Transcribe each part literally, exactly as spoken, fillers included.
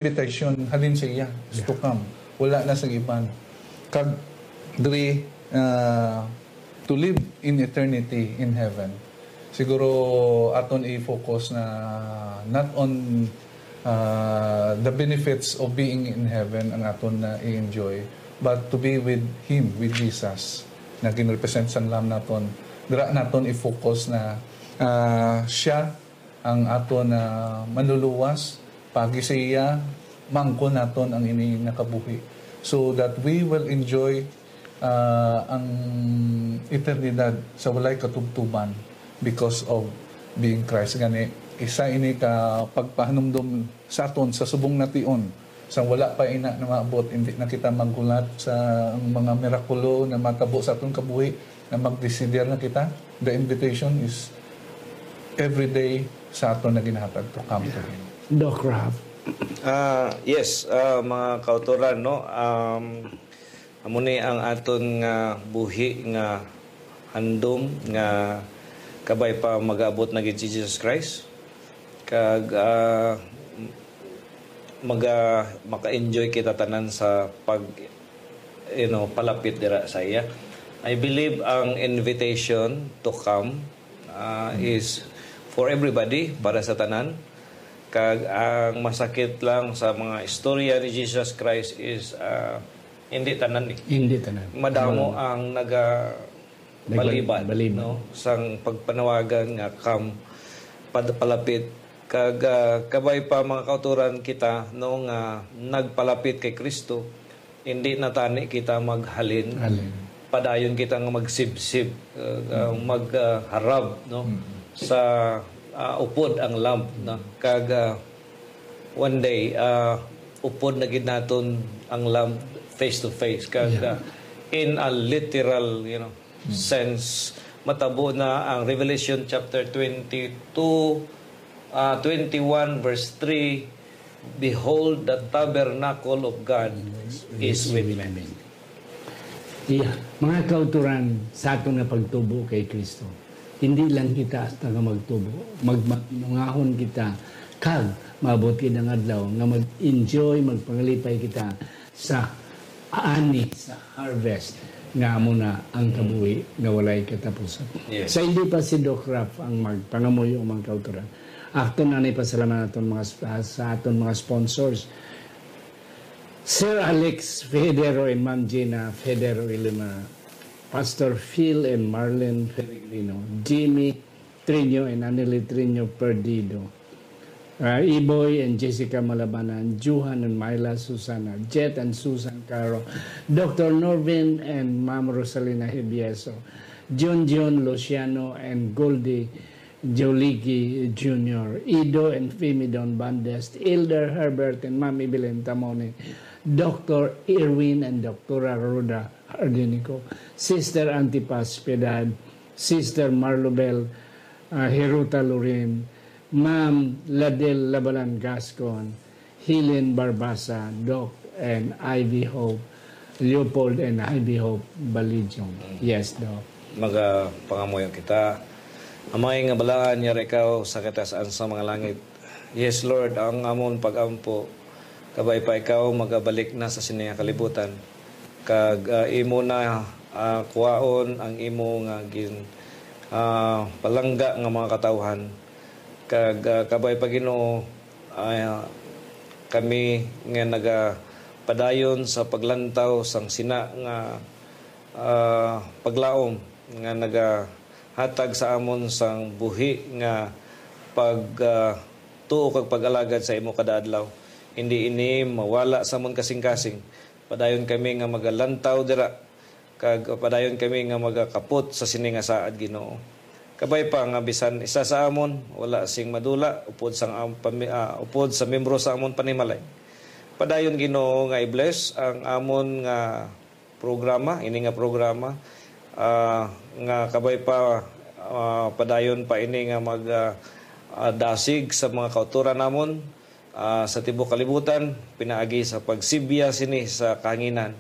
invitation halin sa iya, is to come. Wala na sa iban. Kag diri, ah, to live in eternity in heaven. Siguro aton i-focus na not on, ah, the benefits of being in heaven ang aton na i-enjoy, but to be with Him, with Jesus, na ginrepresent sang Lamb naton. Dira naton i-focus na, ah, siya ang aton na manluluwas, pagi sa iya, maangkon naton ang ini nga kabuhi, so that we will enjoy, ah, ang eternidad sa walay katubtuban because of being Christ. Gani, isa ini ka pagpahanumdom sa aton sa subong nation. Sang wala pa ina na maabot, hindi na kita maghulat sa mga mirakulo na matabo sa aton kabuhi, na magdesider na kita. The invitation is every day sa aton na ginahatag to come to Him. Doc Ralph. Ah, yes, ah, mga kautoran, no? Um, amo ni ang aton nga buhi nga handom nga kabay pa mag-abot na gid si Jesus Christ. Kag ah, maga maka-enjoy kita tanan sa pag, you know, palapit dira sa iya. I believe ang invitation to come ah, is for everybody, para sa tanan. Kag ang masakit lang sa mga istorya ni Jesus Christ is ah, hindi tanan eh. Hindi tanan. Madamo ang naga Nagba- balibad, balibad. No, sang pagpanawagan nga come pad- palapit. Kag ah, kabay pa mga kautoran kita, no, nga nagpalapit kay Kristo, hindi na tani kita maghalin. Halin. Padayon kita nga magsibsib, uh, uh, magharab, no, sa ah, upod ang Lamb, no? Kag ah, one day ah, upod na gid naton ang Lamb face to face. Kag Yeah. ah, in a literal, you know, sense, matabo na ang Revelation chapter twenty-two, ah, twenty-one, verse three, "Behold, the tabernacle of God is with men." Iya, mga kauturan sa aton nga pagtubo kay Kristo. Hindi lang kita hasta nga magtubo, magmakinungahon kita kag maabot gid ang adlaw nga mag-enjoy, magpangalipay kita sa ani, sa harvest nga amo na ang kabuhi nga walay katapusan. Yes. Sa hindi pa si Doc Ralph ang magpangamuyo, mga kauturan, aton na ni pasalamatan aton mga sp- sa aton mga sponsors. Sir Alex Federo and Ma'am Gina Federo Ilumara, Pastor Phil and Marlene Peregrino, Jimmy Trino and Anely Trino Perdido, uh, Iboy and Jessica Malabanan, Johan and Myla Susana, Jet and Susan Caro, Doctor Norvin and Ma'am Rosalina Hibieso, John John Luciano and Goldie Joligi Junior, Ido and Femi Don Bandes, Elder Herbert and Ma'am Evelyn Tamone, Doctor Irwin and Doctora Rhoda Hardinico, Sister Antipas Piedad, Sister Marlobel, uh, Heruta Lorin, Ma'am Ladel Labalan Gascon, Helen Barbasa, Doc, and Ivy Hope, Leopold and Ivy Hope Balijong. Yes, Doc. Magapangamuyo kita. Amay nga balaan, yara ikaw sa kataas-an sa mga langit. Yes, Lord, ang amon pag-ampo, kabay pa ikaw magabalik na sa sini nga kalibutan. Kag ah, imo na ah, kuwaon ang imo nga gin ah, palangga nga mga katawhan. Kag ah, kabay pa, Ginoo, ah, kami nga nagapadayon sa paglantaw sang sina nga ah, paglaom nga nagahatag sa amon sang buhi nga pag ah, tuo kag pag-alagad sa imo kada adlaw. Hindi ini mawala sa amon kasing-kasing. Padayon kami nga magalantaw dira, kag padayon kami nga magakapot sa sini nga saad, Ginoo. Kabay pa nga bisan isa sa amon wala sing madula upod sang am- pami- ah, upod sa membro sa amon panimalay. Padayon, Ginoo, nga i-bless ang amon nga programa, ini nga programa, ah, nga kabay pa ah, padayon pa ini nga mag ah, ah, dasig sa mga kauturan namon ah, sa tibuok kalibutan, pinaagi sa pagsibya sini sa kahanginan,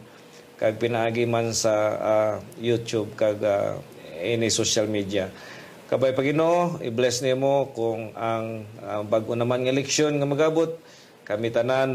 kag pinaagi man sa ah, YouTube kag ah, ini social media. Kabay pa, Ginoo, i-bless nimo kung ang ah, bag-o naman nga leksyon nga magabot, Kami tanan